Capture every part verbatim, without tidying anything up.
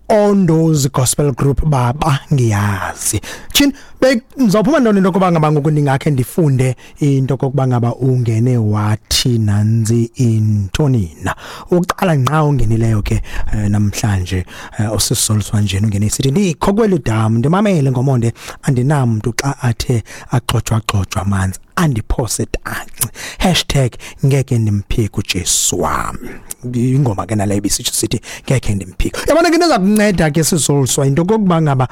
Ondo's Gospel Group baba ngiyazi. Chin ngizawuphuma ntoni into yokuba ngaba ngoku ndingakhe ndifunde into kokuba ngaba ungene wathi nanzi intonina. Uqala nqa ungenileyo ke namhlanje usisoliswa nje ungene sithi ndikho kweli damu ndimamele ngomonde andinamntu xa athe axotshwa xotshwa amanzi andiphose tanci hashtag ngeke ndimphike uJesu wami. Ingoma ke naleyo ibisitsho sithi ngeke ndimphike. Yabona ke into kunceda ke sisoliswa into kokuba ngaba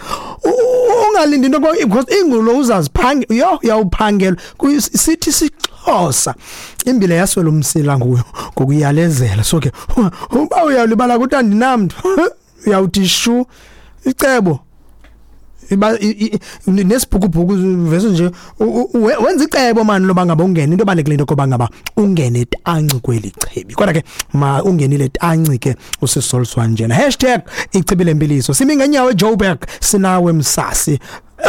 ungalindi into because ingulo uzaziphange yo uyawuphangela sithi sixhosa imbile yaswela umsila nguyo ngokuyalezela. So ke uba uyalibala ukuthi andinamntu uyawuthi shu icebo iba nesibhukubhuku vese nje wenza icebo mani loba ngaba ungene into balekile into koba ngaba ungene tanci kweli chibi. Kodwa ke ma ungenile tanci ke usisoliswa njena hashtag ichibi lempiliso simi ngenyawo eJoburg sinawe msasi.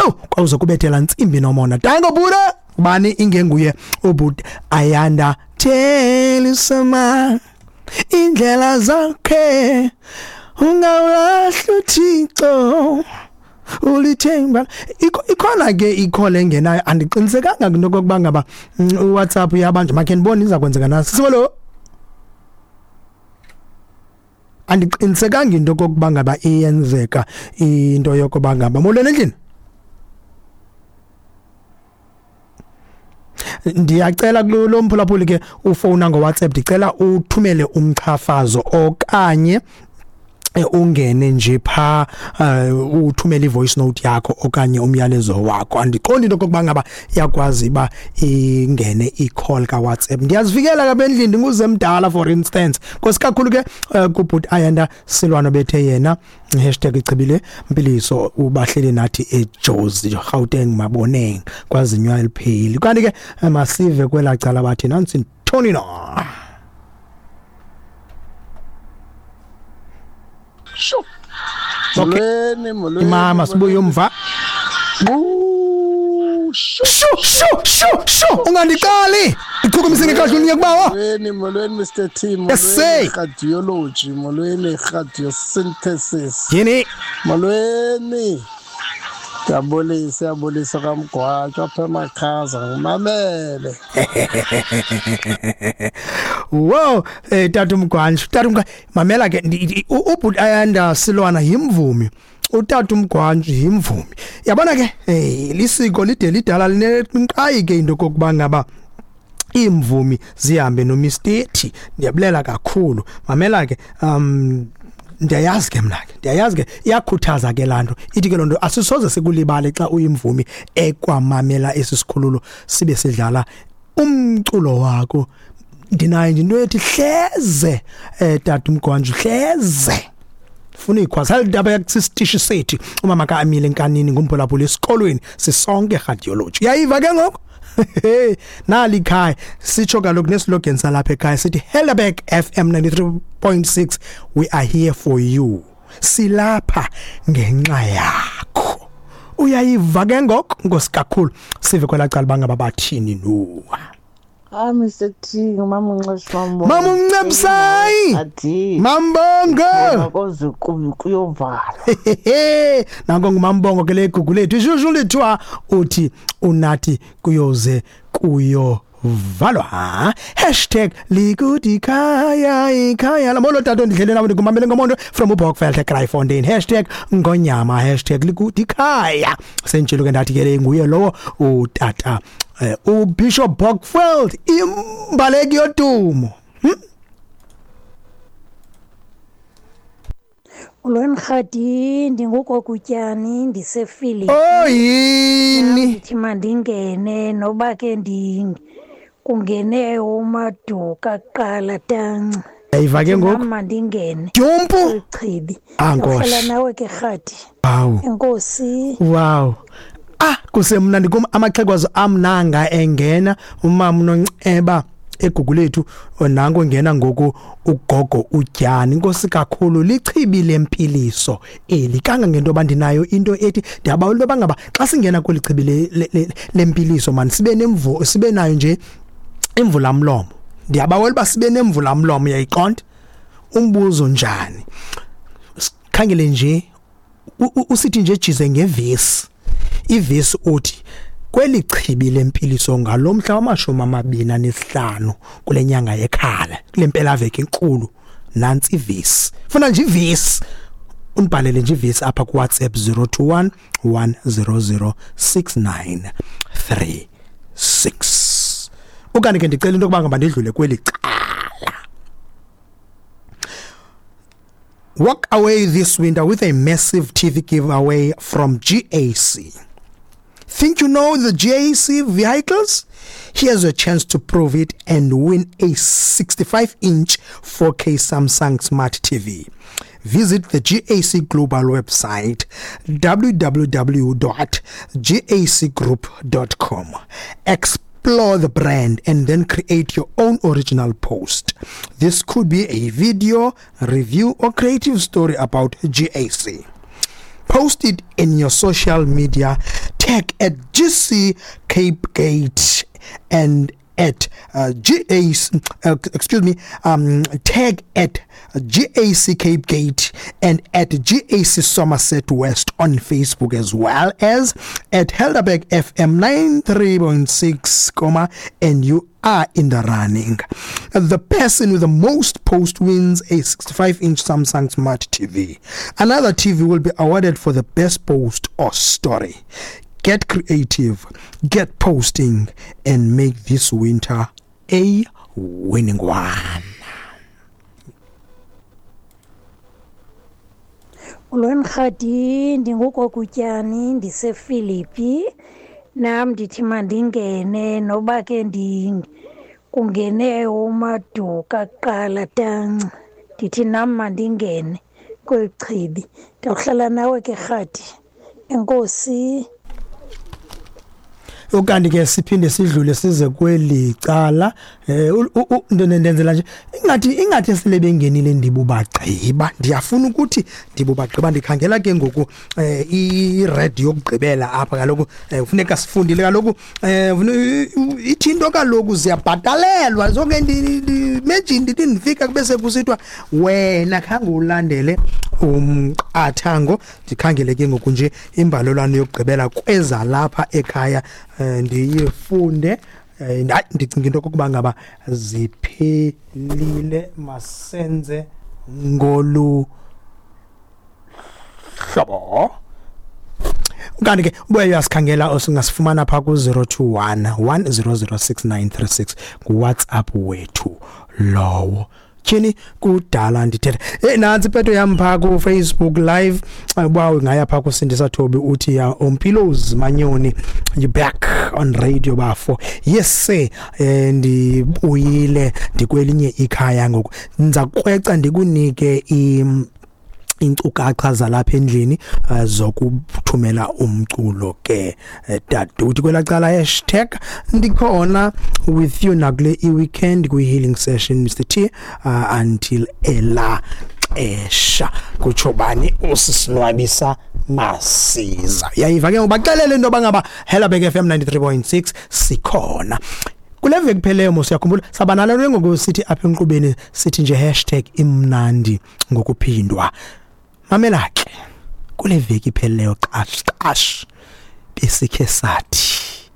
Oh kwawuze kubethela ntsimbi nomona dango buda bani ingenguye ubud Ayanda Telisama indlela zakhe ungawulahla uThixo ulithemba. Ikhona ke ikhole engenayo andiqinisekanga into kokuba ngaba WhatsApp yabantu makhe ndibone iza kwenzeka nasi sibolo andiqinisekanga into kokuba ngaba iyenzeka into yokuba ngaba molweni endlini. Ndiyacela kulo mphulaphuli ke ufowuna ngo WhatsApp ndicela uthumele umchafazo okanye ungene nje pha uthumele ivoice note yakho okanye umyalezo wakho. Andiqondi into kokuba ngaba iyakwazi ba ingene i-call ka WhatsApp. Ndiyazifikela ka endlini ndinguze mdala for instance. Nkosi kakhulu ke kubhuti Ayanda Silwano bethe yena hashtag ichibile mpiliso ubahleli nathi eJozi Gauteng Maboneng kwazinywa elipheli. Kanti ke masive kwelacala bathi nansi Tony no. Sho. Molweni, molweni. Mama sibuye umva. Sho sho sho sho ungandiqali. Ichukumise ngekahle uniye kubawo. Molweni, molweni Mister T, molweni radiology, molweni radiosynthesis. Yini? Molweni. Ngiyabulisa, ngiyabulisa kaMgwatsho apha emakhaza ngimamele. Wow, eh tata uMgwatsho, tata uMgwatsho mamela ke ubhuti Ayanda Silwana yimvumi. Utata uMgwatsho yimvumi. Yabona ke eh lisiko lide lidala lineqhayi ke into kokuba ngaba imvumi zihambe nomisteti. Ndiyabulela kakhulu. Mamela ke um ndiyayazi ke mna ke ndiyayazi ke iyakhuthaza ke lanto ithi ke lonto asisoze sikulibale xa uyimvumi ekwamamela esisikhululo sibe sidlala umculo wakho. Ndinayo nje into ethi hleze eh tata uMgwatsho hleze funa ikhwaza indaba yakusisitishi sethu umama kaAmile Nkanini ngumphulaphula esikolweni sisonke radiology. Uyayiva ke ngoku nali ikhaya sitsho kaloku neslogan salapha ekhaya sithi Helderberg F M ninety-three point six we are here for you. Silapha ngenxa yakho. Uyayiva ke ngoku nkosi kakhulu sive kwelacala bangaba bathini no. Ah Mister T, mama uNcebisa. Mama uNcebisai. Mambongo. Koze kuyovala. Nanko ngumambongo ke legugu lethu. Ishushu lethiwa uthi unathi kuyoze kuyovalwa. Hashtag likudikhaya ikhaya. Lamolo tato ndidlele nawe ndikumamele ngomondo from uBokveld eKraaifontein. Hashtag ngonyama hashtag likudikhaya. Sentshilo ke ndathi ke nguye lowo utata Uh, uBishop Bokveld imbaleki yodumo. Hmm? Molweni Rhadi, ndingugokutyani ndisefili. Oh yini? Ndithi mandingene noba ke ndi kungene uMaduka kuqala tanci. Ayiva ke ngoku. Mandingene. Dyumpu. Chibi. Ah nkosi. Nawe ke Rhadi. Wow. Enkosi. Wow. Ah kusemnandi kum amaxhegwazo amnanga engena umama uNonceba egugu lethu nango ngena ngoku ugogo uTyani. Inkosi kakhulu lichibi lempiliso eli kanga ngento bandinayo into ethi ndiyabawela into bangaba xa singena kweli chibi lempiliso man sibe nemvu sibe nayo nje imvula mlomo. Ndiyabawela ba sibe nemvula mlomo uyayiqonda umbuzo njani. Khangele nje usithi nje jize ngevesi, ivesi uthi kweli chibi lempiliso ngalomhla wamashumi amabini anesihlanu kule nyanga yekhala, kule mpelaveki enkulu, nansi ivesi. Funa nje ivesi, unibhalele nje ivesi apha ku WhatsApp zero two one one zero zero six nine three six. Okanye ke ndicela into yokuba ngaba ndidlule kweli cala. Walk away this winter with a massive T V giveaway from G A C. Think you know the G A C vehicles? Here's a chance to prove it and win a sixty-five inch four K Samsung Smart T V. Visit the G A C Global website w w w dot g a c group dot com. Explore the brand and then create your own original post. This could be a video, review, or creative story about G A C. Post it in your social media, tag at G C Cape Gate and at uh, G A C, uh, excuse me, um, tag at G A C Cape Gate and at G A C Somerset West on Facebook, as well as at Helderberg F M ninety-three point six, comma, and you are in the running. The person with the most post wins a sixty-five inch Samsung Smart T V. Another T V will be awarded for the best post or story. Get creative, get posting, and make this winter a winning one. Molweni Rhadi, ndinguGogutyani, ndiseFilipi. Nam ndithi mandingene noba ke ndi kungene uMaduka kuqala tanci. Ndithi nam mandingene kweli chibi. Ndawuhlala nawe ke Rhadi. Enkosi. Ukanti ke siphinde sidlule size kweli cala, eh ndenzela nje ingathi ingathi sele bengenile ndibubagqiba. Ndiyafuna ukuthi ndibubagqiba, ndikhangela ke ngoku i-red yokugqibela apha kaloku kufuneka sifundile kaloku, ithi into kaloku ziyabhatalelwa zonke. Imagine ndithi ndifika kube sekusithiwa wena khange ulandele umqathango. Ndikhangele ke ngoku nje imbalelwano yokugqibela kweza lapha ekhaya, ndiyifunde. Hayi, ndicinga into okokuba ngaba ziphelile, masenze ngolu hlobo. Kanti ke ubuye uyasikhangela osingasifumana pha ku zero two one one zero zero six nine three six ku WhatsApp wethu lowo. Tyhini kudala ndithetha. Hey, nantsi ipeto yam pha ku Facebook Live. Uba ungaya pha kuSindisa Thobi uthi ya Ompilos Manyoni, you back on radio bafo. Yes sir, ndibuyile ndikwelinye ikhaya ngoku. Ndiza kukrweca ndikunike i inkcukacha zalapha endlini zokuthumela umculo ke daduthi kwelacala hashtag ndikhona with you nakule i-weekend kwi-healing session Mister T uh, until ela xesha. Kutsho bani? Usisinwabisa Masiza. Yayiva ke ngobaxelele into bangaba Helderberg F M ninety-three point six sikhona. Kule veki kupheleyo mos uyakhumbula saba nalo ngoku sithi apha enkqubeni sithi nje hashtag imnandi ngokuphindwa. Mamela ke kule veki ipheleyo qash qash besikhe sathi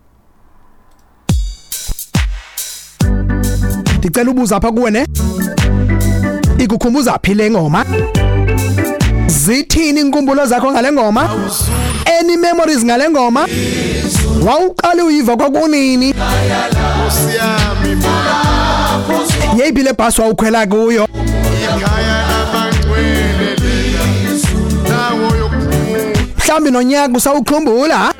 ndicela ubuza apha kuwe ne ikukhumbuza phi le ngoma? Zithini inkumbulo zakho ngale ngoma? Any memories ngale ngoma? Wawuqala uyiva kwakunini? Yeyiphi le bhasi wawukhwela kuyo? Mhlawumbi nonyaka usawukhumbula?